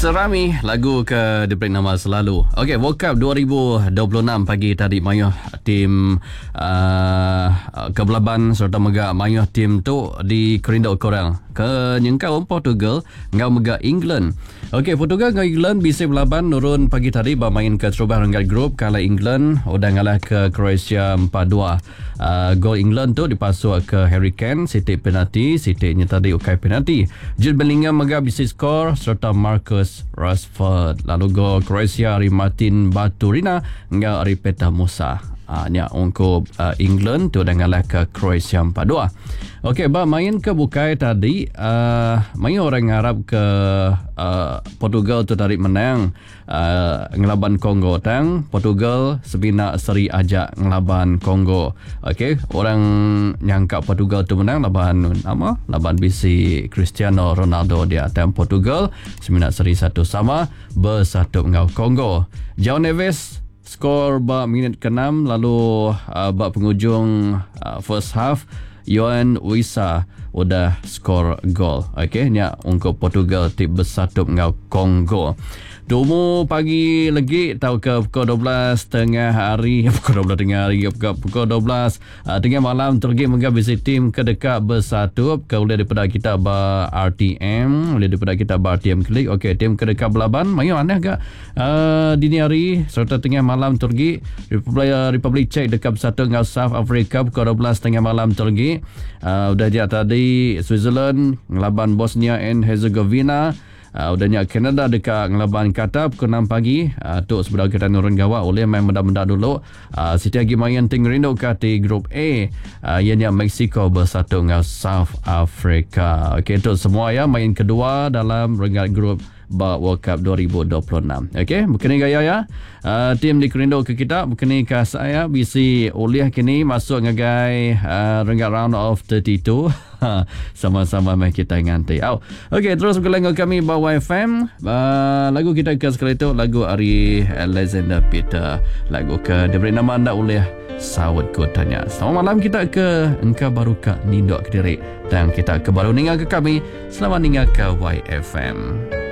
Serami lagu ke diberi nama selalu. Okey, World Cup 2026 pagi tadi mayuh tim uh, ke belaban serta mega mayuh tim tu dikerindu ke orang ke nyengkaum Portugal enggau mega England. Okey, Portugal enggau England bisi belaban nurun pagi tadi ba main keterubah renggat grup kala England udah ngalah ke Croatia 4-2. Uh, gol England tu dipasuk ke Harry Kane, siti penalti, siti nya tadi ukai penalti. Jude Bellingham mega bisi skor sereta Marcus Rashford. Lalu gol Croatia ari Martin Baturina enggau ari Petar Musa. Uh, nya ungkup uh, England tu udah ngalah ke Croatia 4-2. Okey, ba main ke bukai tadi, uh, mayuh orang ngarap ke uh, Portugal tu tadi menang. Ngelaban Congo tang Portugal semina seri aja ngelaban Congo. Okey, orang nyangka Portugal tu menang laban nama? Laban bisi Cristiano Ronaldo dia tang Portugal semina seri satu sama bersatu enggau Congo. João Neves skor ba minit ke-6 lalu uh, ba pengujung uh, first half Yoane Wissa udah skor gol. Okey, nya ungkup Portugal ti besatup enggau Congo. Tumu pagi legi tauka pukul 12 tengah hari, pukul 12 tengah hari ke pukul 12 uh, tengah malam tu legi mega bisi tim ke deka besatup ke ulih dipeda kita ba RTM, ulih dipeda kita ba RTM Klik. Okey, tim ke deka belaban mayuh aneh ga uh, dini hari sereta tengah malam tu legi Republik, uh, Republik Czech deka bersatu enggau South Africa pukul 12 tengah malam tu legi. Uh, udah dia tadi Switzerland ngelaban Bosnia and Herzegovina. Uh, udah nya Canada deka ngelaban Qatar pukul 6 pagi. Uh, tu sebedau kita nurun gawa ulih main meda-meda dulu. Uh, siti agi main ti ngerinduka ti Group A uh, iya nya Mexico bersatu enggau South Africa. Okey tu semua ya main kedua dalam renggat grup ba World Cup 2026. Okey, bekeni gaya ya. Uh, tim dikerindu ke kita, bekeni ka saya bisi ulih kini masuk ngagai uh, renggat round of 32. Sama-sama meh kita nganti. Au. Okey, terus bergulai enggau kami ba YFM. Uh, lagu kita ke sekali tu lagu ari Alexander Peter. Lagu ke diberi nama enda ulih saut ku tanya. Selamat malam kita ke engka baru ka ninduk kediri. Tang kita ke baru ninga ke kami, selamat ninga ke YFM.